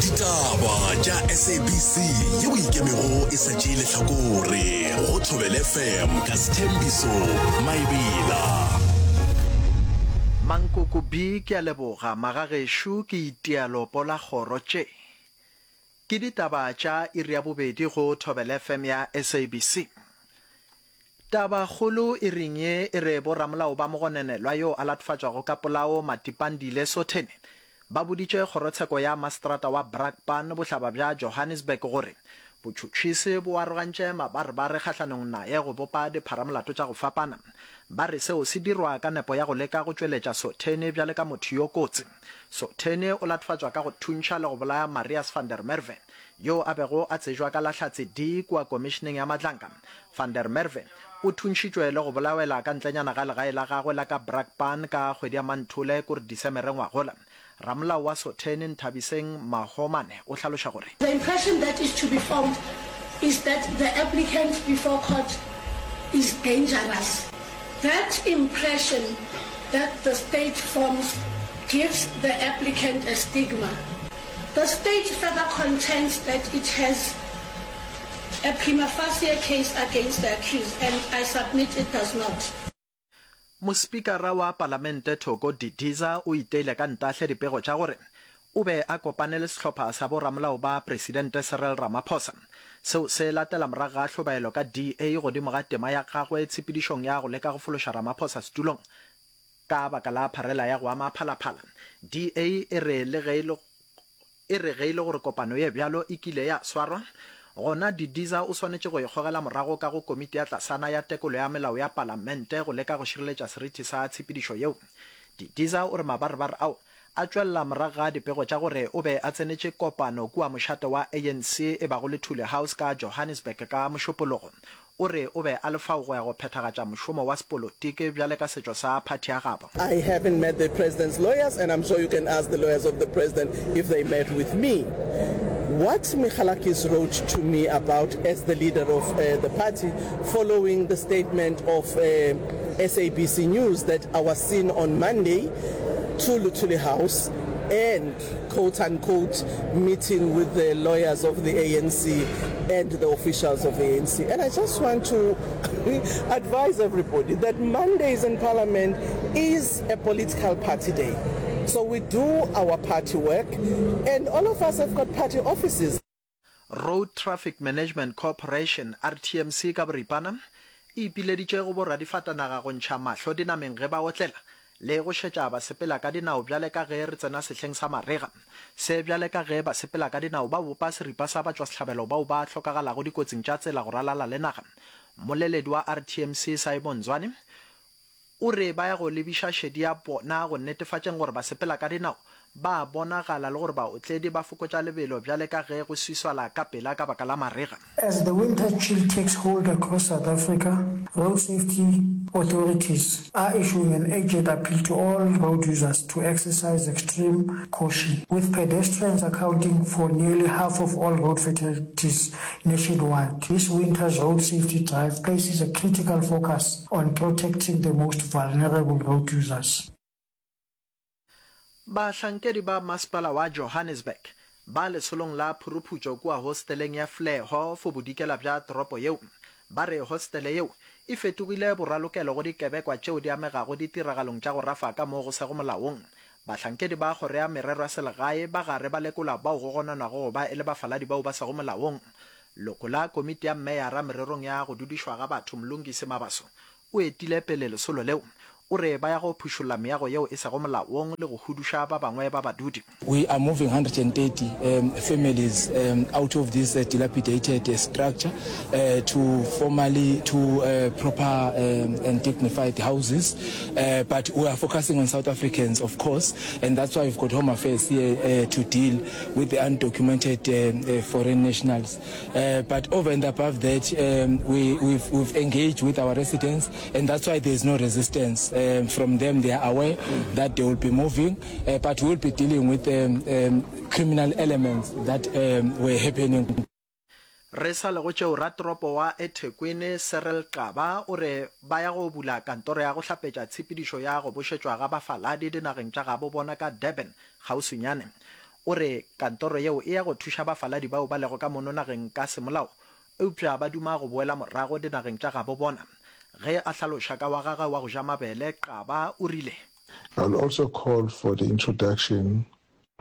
Ditaba tša SABC yeo ikemego e sa tšee lehlakore go Thobela FM ka Sthembiso Maebela. Mankoko B Ke a leboga magagešo ke itia lopo la kgoro tše. Ke ditaba tša iri ya bobedi go Thobela FM ya SABC. Tabakgolo e reng ye e re boramolao ba mogononelwa yo a latofatšwago ka polao Matipandile Sotheni ba boditše kgorotsheko ya maseterata wa Brakpan bohlaba bja Johannesburg gore botšhotšhisi bo arogantše mabarebare kgahlanong naye go bopa dipharamolato tša go fapana. Ba re seo se dirwa ka nepo ya go leka go tšweletša Sotheni bjale ka motho yo kotsi. Sotheni o latofatšwa ka go thuntšha le go bolaya Marius van der Merwe yo a bego a tsejwa ka la Hlatse D kua Komišeneng ya Madlanga. Van der Merwe o thuntšhitšwe le go bolawela ka ntlenyana ga legae la gagwe la ka Brakpan ka kgwedi ya Manthole kore Disemere ngwagola. Ramolao wa Sotheni Nthabiseng Mahomane o hlaloša gore. The impression that is to be formed is that the applicant before court is dangerous. That impression that the state forms gives the applicant a stigma. The state further contends that it has a prima facie case against the accused and I submit it does not. Mospikara wa Palamente Thoko Didiza o iteile ka ntahle dipego tša gore o be a kopane le sehlopha sa boramolao ba Presidente Cyril Ramaphosa. Seo se latela morago ga hlobaelo ka DA godimo ga tema ya gagwe tshepedišong ya go leka go fološa Ramaphosa setulong Ka baka la pharela ya go ama phalaphala, DA e re le ge e le e re ge e le gore kopano ye bjalo e kile ya swarwa, gona Didiza o swanetše go e gogela morago ka go komiti ya tlasana ya tekolo ya melao ya palamente go leka go šireletša seriti sa tshepedišo yeo. Didiza o re mabarebare ao a tšwelela morago ga dipego tša gore o be a tsenetše kopano kua mošate wa ANC e bago Luthuli House ka Johannesburg ka Mošupologo. O re o be a le fao go ya go phethagatša mošomo wa sepolotiki bjale ka setšo sa phathi ya gabo. I haven't met the president's lawyers and I'm sure you can ask the lawyers of the president if they met with me. What Michalakis wrote to me about as the leader of the party following the statement of SABC News that I was seen on Monday to Luthuli House and quote unquote meeting with the lawyers of the ANC and the officials of the ANC. And I just want to advise everybody that Mondays in Parliament is a political party day. So we do our party work and all of us have got party offices. Road Traffic Management Corporation, RTMC, ka boripana, e ipileditše go boradifatanaga go ntšha mahlo dinameng ge ba otlela le go šetša basepela ka dinao bjale ka ge re tsena sehleng sa marega. Se bjale ka ge basepela ka dinao ba bopa seripa sa batšwasehlabelo bao ba hlokagalago dikotsing tša tsela go ralala le naga. Mmoleledi wa RTMC Simon Zwane O re ba ya go lebiša šedi ya bona go netefatšeng gore basepela ka dinao ba a bonagala le gore baotledi ba fokotša lebelo bjale ka ge go swiswala ka pela ka baka la marega. As the winter chill takes hold across South Africa, road safety authorities are issuing an urgent appeal to all road users to exercise extreme caution, with pedestrians accounting for nearly half of all road fatalities nationwide. This winter's road safety drive places a critical focus on protecting the most vulnerable road users. Bahlankedi ba masepala wa Johannesburg ba lesolong la phuruphutšo kua hosteleng ya Fleho fo bodikela bja toropo yeo ba re hostele yeo e fetogile boralokelo go dikebekwa tšeo di amegago ditiragalong tša go rafa ka mo go sego molaong. Bahlankedi ba Kgoro ya Merero ya Selegae ba gare ba lekola bao go gononwago go ba e le bafaladi bao ba sego molaong. Loko la Komiti ya Meyara Mererong ya go Dudišwa ga Batho Mlungisi Mabaso o etile pele lesolo leo. O re ba ya go phušolla meago yeo e sego molaong le go huduša ba bangwe ba badudi. We are moving 130 families out of this dilapidated structure to formally to proper and dignified houses but we are focusing on South Africans of course and that's why we've got Home Affairs here to deal with the undocumented foreign nationals but over and above that we we've, we've engaged with our residents and that's why there's no resistance from them they are aware that they will be moving but we will be dealing with criminal elements that were happening. Re sa le go tšeo, ratoropo wa eThekwini Cyril Xaba o re ba ya go bula kantoro ya go hlapetša tshepedišo ya go bošetšwa ga bafaladi dinageng tša gabo bona ka Durban kgauswinyane. O re kantoro yeo e ya go thuša bafaladi bao ba lego ka mono nageng ka semolao eupša ba duma go boela morago dinageng tša gabo bona. Ge a hlaloša ka wa gagwe wa go ja mabele, Xaba o rile. I will also call for the introduction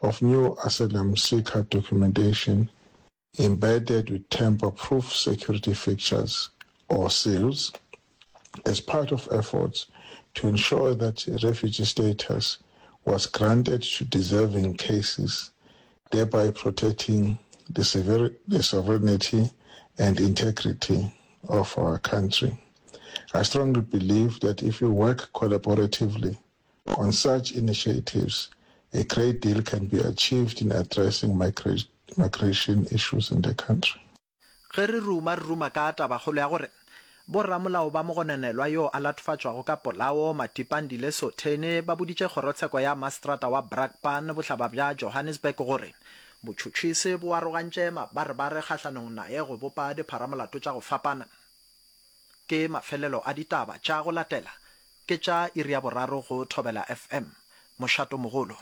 of new asylum seeker documentation embedded with tamper-proof security features or seals as part of efforts to ensure that refugee status was granted to deserving cases, thereby protecting the, the sovereignty and integrity of our country. I strongly believe that if we work collaboratively on such initiatives, a great deal can be achieved in addressing migra migration issues in the country. Ge re ruma, re ruma ka tabakgolo ya gore boramolao ba mogononelwa yo a latofatšwago ka polao, Matipandile Sotheni, ba boditše kgorotsheko ya maseterata wa Brakpan, bohlaba bja Johannesburg gore botšhotšhisi bo arogantše mabarebare kgahlanong naye go bopa dipharamolato tša go fapana. Ke mafelelo a ditaba tša go latela ke tša iri ya boraro go Thobela FM. Mošato mogolo.